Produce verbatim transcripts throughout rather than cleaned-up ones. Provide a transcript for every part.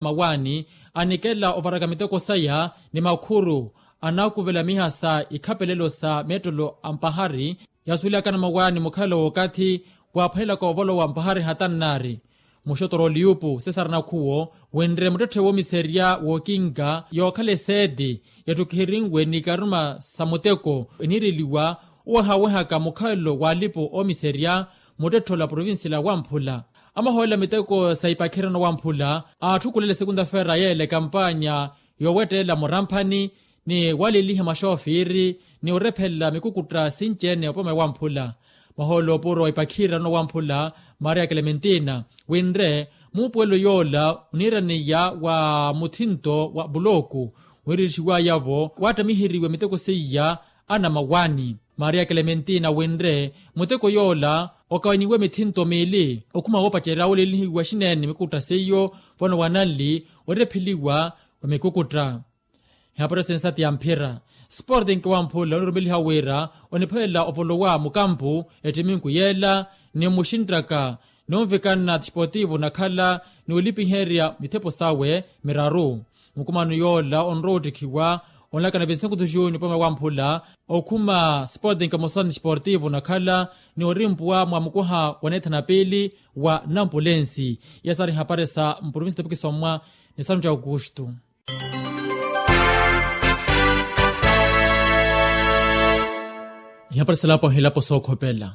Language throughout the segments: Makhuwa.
mawaani anikela ovaraka miteko saya ni makhuru anaakuvela miha sa ikhapelelo sa meettelo a mpahari. Yasuwelaka na mawaani mukhalo w'okathi waaphwanelaka ovolowa mpahari hatannaari muxotoro oliyupu sesara nakhuwo wenre muttetthe woomiserya wookinka yookhala eseeti yattukihirinwe ni ikaruma sa muteko eniireliwa owehawehaka mukhalo w'alipo oomiserya muttetthe ola provincia la wamphula. Amahoolela miteko sa ipakhirano wamphula aatthukulela esekunta feera yeela ekampanya yoowettelela muramphani ni waliliha maxoofiri ni orephelela mikukutta sinci-ene opoma ewamphula. Mahoolo oopuro wa ipakhirano wamphula maria klementina winre muupuwelo yoola oniiraneya wa muthinto wa pulooku winrelixiwaya-vo waattamiheriwe miteko seiya anamawaani. Maria klementina winre muteko yoola okawaniwe mithinto miili okhuma woopacerya wolelihiwa xineene mikutta seiyo vano wananli orepheliwa wa mikukutta. Ihaparisa ensati ya mphira sporting wamphula onirumeliha wira onipholela ovolowa mukampu ettiminku yeela ni muxinttaka ni onvikana tisportivo nakhala ni olipiherya mithepo sawe miraru. Mukumano yoola onrowa ottikhiwa onlakana vesinkhu tujuni opome wamphula okhuma sporting mosani tisportivo nakhala ni orimpuwa mwa mukuha wa neethana piili wa nampulensi. Iya saari ihaparisa mprovinsi topikisomwa ni santu ya aukustu. Ihaparisa elapo ahilapo sookhopela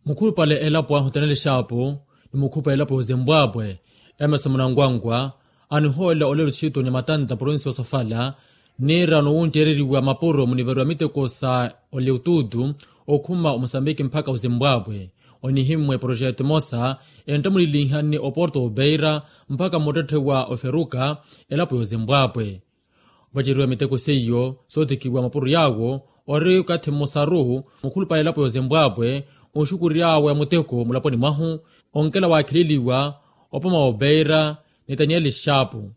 mukhulupale elapo ahu taneli xaapu ni mukhulupale elapo yozimbwaapwe emerson munangwangwa anihoolela olelo txiitu ni matanta provinsi yosofala niira nowuntteereriwa mapuro muniveru ya miteko sa oleututu okhuma omusambiki mpakha ozimbwaapwe. Onihimmwe proxeto emosa enttamulilinhani oporto opeira mpakha mmuttetthe wa oferuka elapo yozimbwaapwe. Ovaceriwa miteko seiyo sootikiwa mapuro yaawo ori okathi mmosaru mukhulupale elapo yozimbwaapwe onxukury'awe muteko mulaponi mwahu onkela waakhileliwa opoma wa opeira ni tanieli xaapu.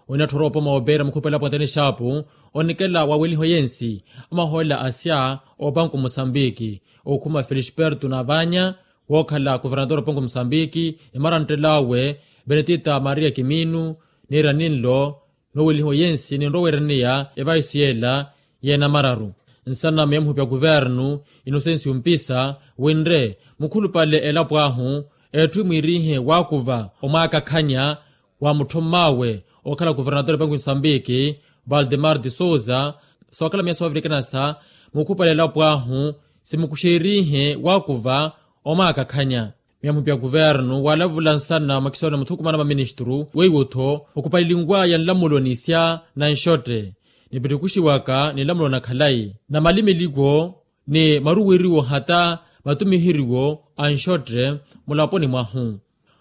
Onatthora opoma wa opeira mukhulupale elapo wa tanieli xaapu onikela wa weliho yensi amahoolela asya opanku musambiki okhuma felisperto navanya wookhala kuvernator opanku musambiki ni maranttel'awe benetita maria kiminu niira ninlo nowelihiwa yensi ninrowa weeraneya evaisu yeela y'enamararu. Nsanama ya muhupya kuvernu inosensi ompisa winre mukhulupale elapo ahu etthu emwiirihe waakuva omwaakakhanya wa mutthomm'awe okhala kuvernator epanku musambiki valdemar de souza sookhala miya soovirikana sa mukhupale elapo ahu simukuxerihe waakuva omwaakakhanya. Miya muhupya kuvernu waalavula nsana mwa kisoni muthukumana maministru weiwo-tho okupalilinwaya nlamulo nisya na nxotte nipittukuxiwaka ni nlamulo na khalayi na malimiliko ni maruweriwo hata matumiheriwo a nxotte mulaponi mwahu.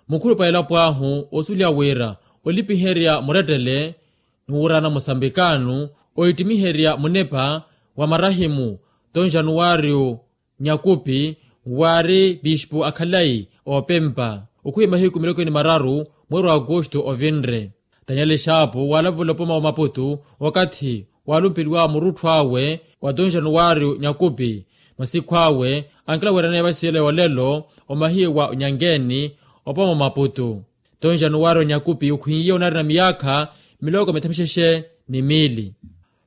Mukhulupale elapo ahu osuliha wira olipiherya murettele ni wuurana musambikano oittimiherya munepa wa marahimu ton januwario nyakupi waari pispu akhalayi opempa okhuya mahiku miloko ni mararu mweeri wa agosto ovinre. Tanieli xaapu waalavula opoma wa maputu okathi waalumpeliwa murutthu awe wa ton januwario nyakupi masikhw'awe ankila weeraneya vasiyela yoolelo omahiye wa onyangeeni opoma wa maputu. Ton januwario nyakupi okhwiiye onaari na miyaakha miloko mithamixexe ni miili.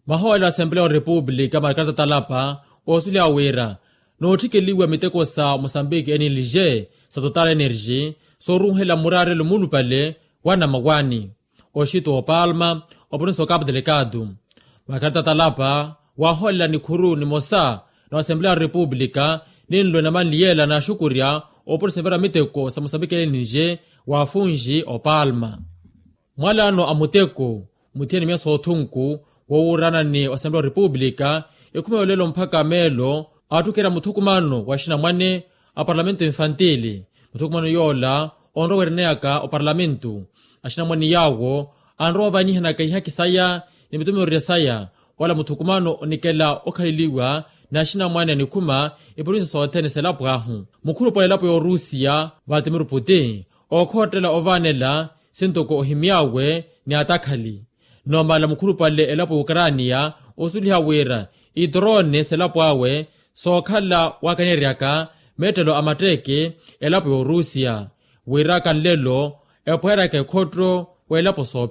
Mahoolo a asempleya wa repupulika markarta talapa oosuliha wira nootthikeliwa miteko sa mosambiki enilije sa total energy sooruuhela muraarelo muulupale wa namawaani oxito opalma oprovinsi okapu delikatu. Markarta talapa waahoolela nikhuru nimosa na asempleya wa repupulika ninlo enamanli yeela naaxukurya oprovinsi nivera miteko sa mosambiki enilije wa afunji opalma. Mwalaano a muteko muthiyani miya soothunku woowuurana ni osempe wa repupulika ekhuma yolelo mpakha meelo aattukhera muthukumano wa axinamwane a parlamento infantili. Muthukumano yoola onrowa weereneyaka oparlamento axinamwane yaawo anrowa oovanyihanaka ihaki saya ni mitumiyorerya saya. Wala muthukumano onikela okhaleliwa n'axinamwane anikhuma iprovinsi sothene selapo ahu mukhulupale elapo ya orusiya valtimir putin ookhottela ovaanela sintoko ohimy'awe ni atakhali. Nomala mukhulupale elapo ya ukraniya osuliha wira itorone selapo awe sookhala waakaneryaka meettelo a matteeke elapo ya orusiya. Wiraka nlelo epweeryaka ekhotto weelapo soopi.